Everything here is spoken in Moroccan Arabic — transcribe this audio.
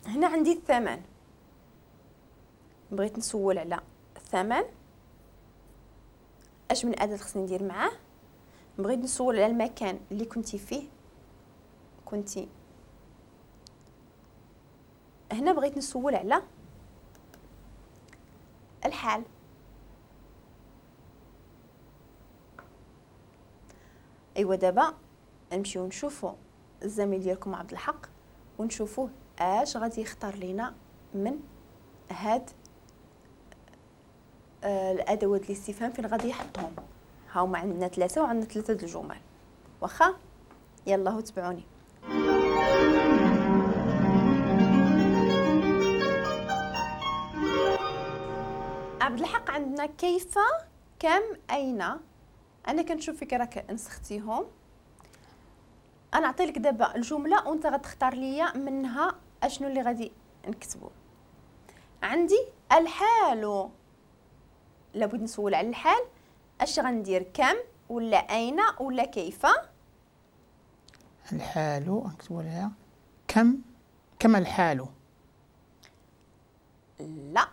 هنا عندي الثمن، بغيت نسول على الثمن، اش من اداه خصني ندير معاه. بغيت نسول على المكان اللي كنتي فيه، كنتي هنا. بغيت نسول على الحال. ايوا دابا نمشيو نشوفو الزميل ديالكم عبد الحق ونشوفوه اش غادي يختار لينا من هاد الادوات الاستفهام، فين غادي يحطهم. ها هما عندنا ثلاثة وعندنا ثلاثة د الجمل. واخا يلا تبعوني. عبد الحق عندنا كيف، كم، اين. انا كنشوف فيك راك نسختيهم. انا نعطي لك دابا الجملة وانت غتختار ليا منها اشنو اللي غادي نكتبو. عندي الحال، لابد نسول على الحال. اش غندير، كم ولا اين ولا كيف؟ الحال نكتبو لها كم. كم الحال؟ لا،